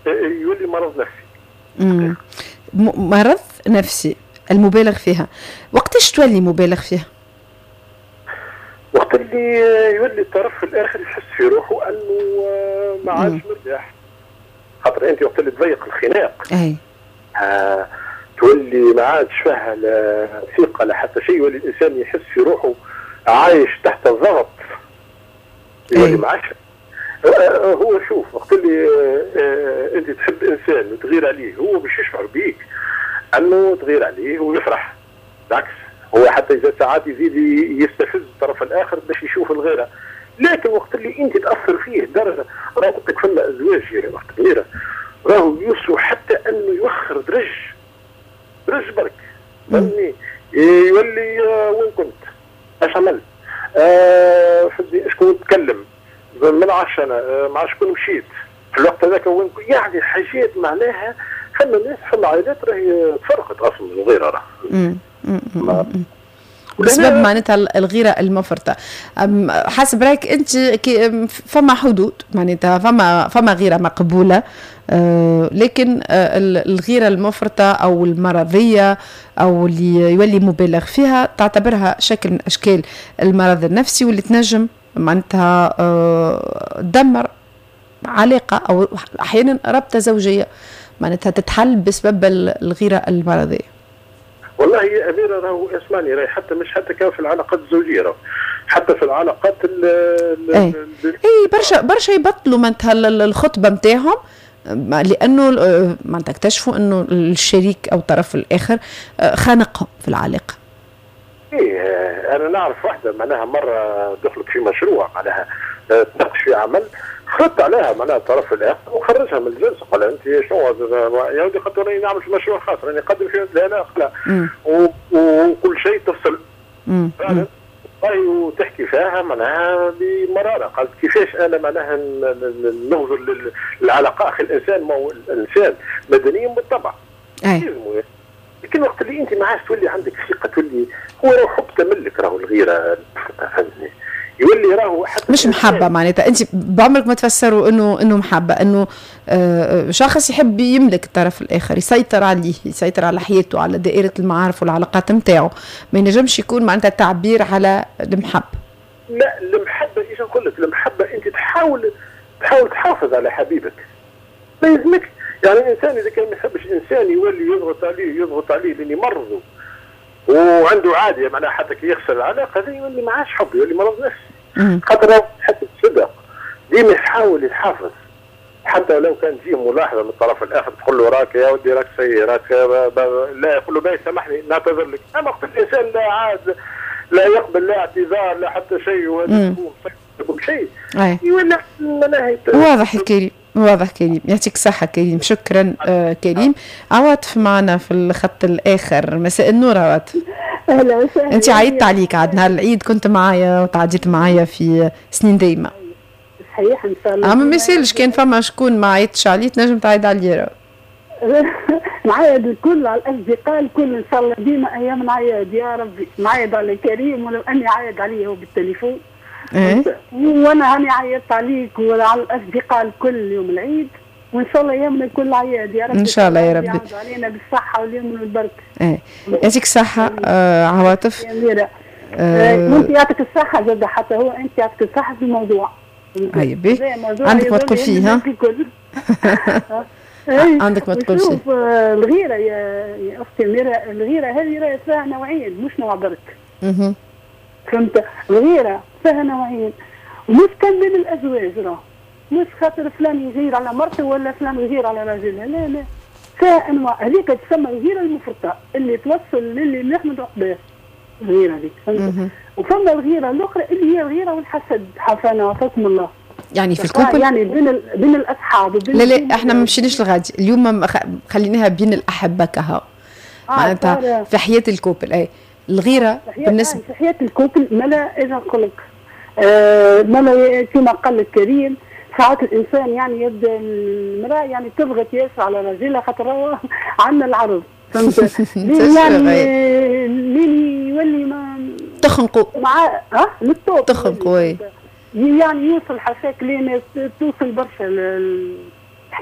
يولي مرض نفسي. مرض نفسي المبالغ فيها. وقتاش تولي مبالغ فيها؟ وقت اللي يولي الطرف الاخر يحس في روحه انه ما عادش مرتاح. خاطر انت وقت اللي تضيق الخناق اي تولي ما عادش فيها لا ثقة لا حتى شيء، يولي الانسان يحس في روحه عايش تحت الضغط، يولي ما عادش هو. شوف وقت اللي انت تحب انسان وتغير عليه، هو باش يشعر بيك انه تغير عليه ويفرح. بالعكس هو حتى اذا ساعات يزيد يستفز الطرف الاخر باش يشوف الغيرة. لكن وقت اللي انت تاثر فيه درجه، راه قلت لك فما ازواج وقت الغيرة راهو يوصلوا حتى انه يوخر درج برك، فهمتني؟ يولي وين كنت؟ اش عملت؟ شكون تكلم؟ ما نعرفش انا مع شكون مشيت في الوقت هذاك وين، يعني حاجات معناها. فما ناس، فما عائلات راهي تفرقت اصلا من الغيرة راه. بسبب معناتها الغيرة المفرطة. حسب رايك انت فما حدود، معناتها فما غيره مقبولة، لكن الغيرة المفرطة او المرضية او اللي يولي مبالغ فيها تعتبرها شكل من اشكال المرض النفسي، واللي تنجم معناتها تدمر علاقة او احيانا رابطه زوجيه معناتها تتحل بسبب الغيرة المرضية. والله يا اميره راهو اسمعني، راهي حتى مش حتى كان في العلاقات الزوجية، راهو حتى في العلاقات ال اي برشا يبطلوا معناتها الخطبة نتاعهم، لانه معناتها اكتشفوا انه الشريك او الطرف الاخر خانقهم في العلاقة. ايه انا نعرف واحدة معناها مرة دخلت في مشروع معناها تناقش في عمل، خرجت عليها معناها الطرف الاخر وخرجها من الجلسة، قال انت شنو يا ودي، خاطر راني نعمل في مشروع خاص، راني نقدم فيه، لا لا لا وكل شيء تفصل فعلا وتحكي فيها معناها بمراره. قالت كيفاش انا معناها نغزر للعلاقة؟ اخي الانسان ما هو الانسان مدنيا بالطبع، لكن وقت اللي انت ما عادش تولي عندك ثقة، تولي هو راهو حب تملك، راهو الغيرة فهمتني، يولي راهو حتى مش محبة. معناتها انت بعمرك ما تفسروا انه محبة، انه شخص يحب يملك الطرف الاخر، يسيطر عليه، يسيطر على حياته، على دائرة المعارف والعلاقات نتاعو، ما ينجمش يكون معناتها تعبير على المحبة. لا المحبة ايش نقول لك، المحبة انت تحاول تحافظ على حبيبك، ما يلزمكش يعني الانسان اذا كان ما يحبش انسان يولي يضغط عليه لين يمرضه وعنده عادية معناها حتى كي يخسر العلاقة هذه يولي ما عادش حب، يولي مرض نفسي. خاطر حتى الصدق ديما يحاول يحافظ، حتى لو كان فيه ملاحظة من الطرف الاخر تقول له راك يا ودي راك سيء راك، لا يقول له باهي سامحني نعتذر لك. اما وقت الانسان لا عاد لا يقبل لا اعتذار لا حتى شيء وهذا كل شيء يولي معناها. واضح كريم، واضح كريم، يعطيك الصحة كريم، شكرا كريم. عواطف معنا في الخط الآخر، مساء النور عواطف. أهلا وسهلا. أنت عيدت عليك عاد نهار العيد، كنت معايا وتعديت معايا في سنين دايمة. صحيح إن شاء الله. أما ما يسالش كان فما شكون ما عيطش عليه تنجم تعيد عليه. نعيد الكل على الأصدقاء الكل إن شاء الله، ديما أيام نعيد يا ربي، نعيد على كريم ولو أني عايد عليه هو بالتليفون. إيه؟ وانا هاني عيطت عليك وعلى الاصدقاء الكل يوم العيد، وان شاء الله يومنا الكل عياد يا رب. ان شاء الله يا ربي علينا بالصحة واليمن والبركة. ايه يعطيك الصحة عواطف. يا اميره وانت يعطيك الصحة زاد، حتى هو انت يعطيك الصحة في الموضوع. اي بي عندك ما تقول فيه؟ ها عندك ما تقول فيه. شوف الغيرة يا اختي اميره، الغيرة هذه راهي فيها نوعين مش نوع برك. فهمت؟ الغيرة فيها نوعين، ومش كان بين الازواج، راه مش خاطر فلان يغير على مرته ولا فلان يغير على راجلها، لا لا، فيها انواع. هذيك تسمى الغيرة المفرطة اللي توصل للي نحمد عقباه، الغيرة هذيك فهمت؟ وفما الغيرة الاخرى اللي هي الغيرة والحسد، حافانا وعافاكم الله. يعني في ال couple، يعني بين الاصحاب وبين لا لا احنا ما مشيناش لغادي اليوم، خليناها بين الاحبة كها معناتها في حياة ال couple. اي الغيرة بالنسبة في حياة ال couple ملا اذا نقول لك ملا كما قال لك كريم، ساعات الانسان يعني يبدا المراة يعني تضغط ياسر على راجلها خاطر هو عندنا العرض، فهمت؟ يعني لين يولي ما تخنقوا مع للطوب تخنقوا يعني يوصل حساك لين توصل برشا